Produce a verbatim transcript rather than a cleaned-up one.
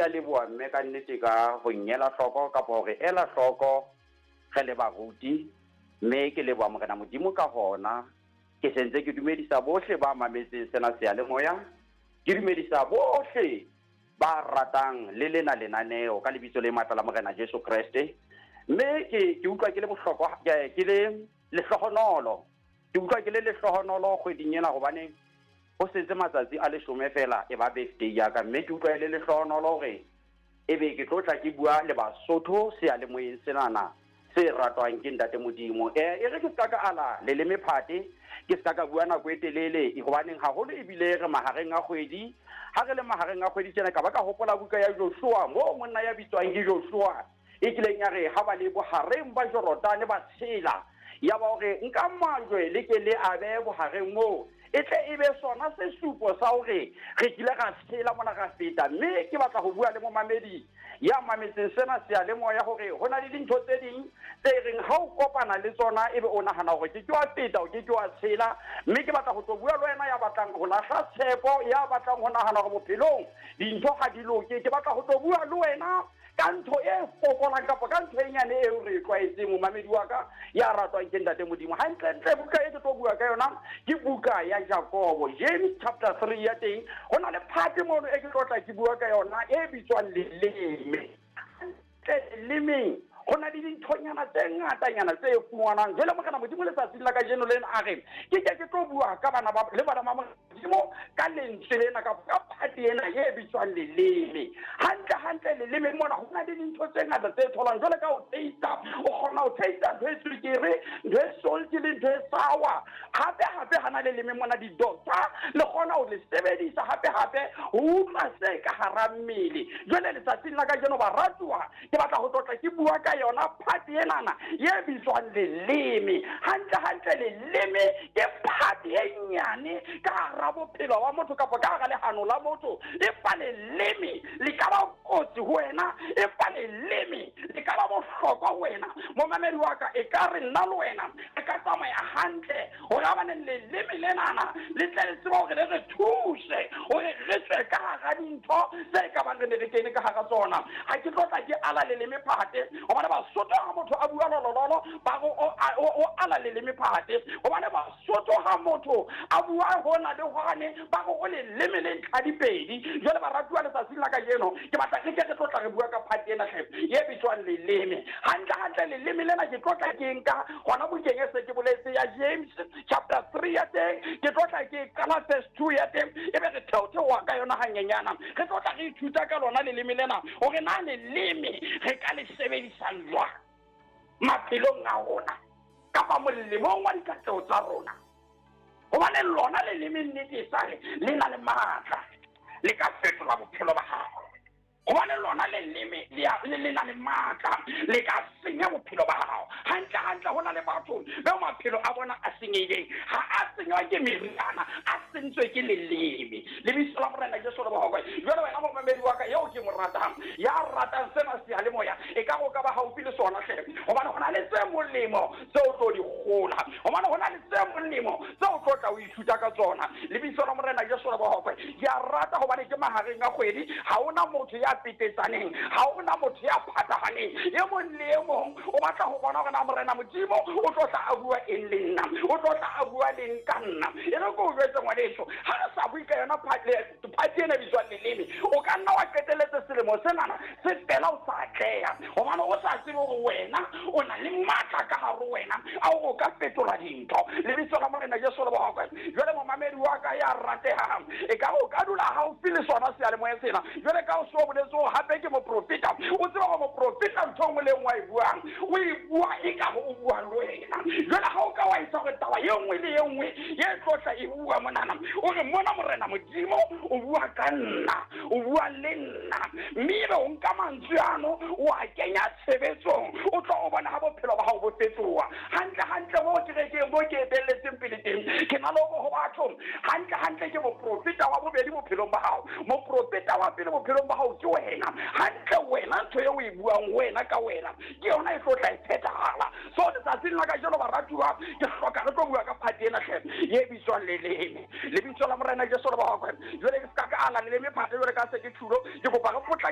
ke a leboha mme ka nnete ka ho nyela hloko kapa hore ela hloko re le baruti, mme ke leboha Morena Modimo ka hona. Ke sentse ke dumedisa bohle ba mametseng sena seyalemoya, ke dumedisa bohle ba ratang le lena lenaneo ka lebitso le matla la Morena Jesu Kreste. Mme ke ke utlwa ke le bohlokwa, ke le lehlohonolo, ke utlwa ke le lehlohonolo kgweding ena hobane ho setse matsatsi a leshome fela e ba birthday ya ka, mme ke utlwa e le lehlohonolo hore ebe ke tlo tla ke bua le Basotho seyalemoyeng senana se ratwang ke Ntate Modimo. Eh, e re ke ska ka ala leleme phate, ke ska ka bua nako e telele hobaneng haholo ebile re mahareng a kgwedi. Ha re le mahareng a kgwedi tjena ka ba ka hopola buka ya Joshua, moo monna ya bitswang ke Joshua e kileng ya re ha ba le bohareng ba Jorodane ba tshela, ya ba hore nka majwe le ke le abe bohareng moo, e tle e be sona sesupo sa hore re kile ra tshela mona ra feta. Mme ke batla ho bua le momamedi ya mametseng sena seyalemoya hore ho na le dintho tse ding tse reng ha o kopana le tsona ebe o nahana hore ke ke wa feta, o ke ke wa tshela. Mme ke batla ho tlo bua le wena ya batlang ho lahla tshepo, ya batlang ho nahana hore bophelong dintho ha di loke. Ke batla ho tlo bua le wena ka ntho e fokolang kapa ka ntho e nyane eo re e tlwaetseng, momamedi wa ka ya ratwang ke Ntate Modimo. Hantlentle buka e ke tlo bua ka yona ke buka ya Jakobo, James chapter three ya teng. Ho na le phate mono e ke tlo tla ke bua ka yona e bitswang leleme. Lelemeng ho na le dinthonyana tse ngatanyana tse fumanwang. Jwale Morena Modimo letsatsing la kajeno lena a re ke ke ke tlo bua ka bana ba le bana ba Modimo ka lentswe lena kapa ka phate ena e bitswang leleme. Hantle hantle leleme mona ho na le dintho tse ngata tse tholwang. Jwale ka ho taste, o kgona ho taste ntho e tswekere, ntho e salty le ntho e sour. Hape hape hana leleme mona di-doctor le kgona ho le sebedisa hape hape ho utlwa se ka hara mmele. Jwale letsatsing la kajeno baratuwa, ke batla ho tlotla ke bua ka yona phate enana e bitswang leleme. Hantle hantle leleme ke phate e nyane ka hara bophelo ba motho kapa ka hara lehano la motho. Empa leleme le ka ba kotsi ho wena, empa leleme le ka ba bohlokwa ho wena. Momamedi wa ka, e ka re nna le wena re ka tsamaya hantle hore habaneng leleme lenana le tle le tsebe hore le re thuse hore re tswe ka hara dintho tse ka bang re ne re kene ka hara tsona. Ha ke tlo tla ke ala leleme phate hobane Basotho ha motho a bua lolololo ba re o ala leleme phate, hobane Basotho ha motho a bua hona le hwane ba re o leleme le ntlha dipedi. Jwale baratuwa letsatsing la kajeno ke batla re ke re tlo tla re bua ka phate ena hle e bitswang leleme. Hantle hantle leleme lena ke tlo tla ke nka hona bukeng e se ke boletse ya James chapter three ya teng, ke tlo tla ke qala verse two ya teng, ebe re theotheoha ka yona hanyenyana. Re tlo tla re ithuta ka lona leleme lena hore na leleme re ka le sebedisa jwang maphelong a rona kapa molemong wa dikatleho tsa rona. Hobane lona leleme nnete e sale le na le matla, le ka fetola bophelo ba hao. Hobane lona leleme le na le matla, le ka senya bophelo ba hao. Hantle hantle ho na le batho bao maphelo a bona a senyehileng, ha a senywa ke meriana, a sentswe ke leleme. Lebitso la Morena Jesu le bohokwe. Jwale wena momamedi wa ka eo ke mo ratang, ya ratang sena seyalemoya, e ka go ka ba haufi le sona hle, hobane ho na le tse molemo tseo tlo di kgola, hobane ho na le tse molemo tseo tlo tla o ithuta ka tsona. Lebitso la Morena Jesu le bohokwe. Ke a rata hobane ke mahareng a kgwedi, ha hona motho ya petetsaneng, ha hona motho ya phatahaneng. E mong le e mong o batla ho bona hore na Morena Modimo o tlo tla a bua eng le nna, o tlo tla a bua leng ka nna. E re ke o jwetse ngwaneso, ha re sa bue ka yona phate ena e bitswang leleme, o ka nna wa qetelletse selemo senana se fela o sa atleha, hobane o sa tsebe hore wena o na le matla ka hare ho wena a hore o ka fetola dintho. Lebitso la Morena Jesu le bohokwe. Jwale momamedi wa ka ya ratehang, e ka o ka dula haufi le sona seyalemoya sena. Jwale ka o so boletse hore hape ke moprofeta, o tseba hore moprofeta ntho e nngwe le e nngwe a e buang o e bua e ka o bua le wena. Jwale ha o ka wa etsa hore taba e nngwe le e nngwe e tlo tla e bua monana, o re mona Morena Modimo o bua ka nna, o bua le nna, mme ebe o nka mantswe ano o a kenya tshebetsong, o tlo o bona ha bophelo ba hao bo fetoha. Hantle hantle moo kerekeng moo ke etelletseng pele teng, ke na le hore ho batho hantle hantle ke moprofeta wa bobedi bophelong ba hao. Moprofeta wa pele bophelong ba hao ke wena. Hantle wena ntho eo o e buang wena ka wena ke yona e tlo tla e phethahala. So letsatsing la kajeno baratuwa, ke hloka re tlo bua ka phate ena hle e bitswang leleme. Lebitso la Morena Jesu le bohokwe. Jwale ke ska ka ala leleme phate jwale ka se ke tjhulo, ke kopa re potlake.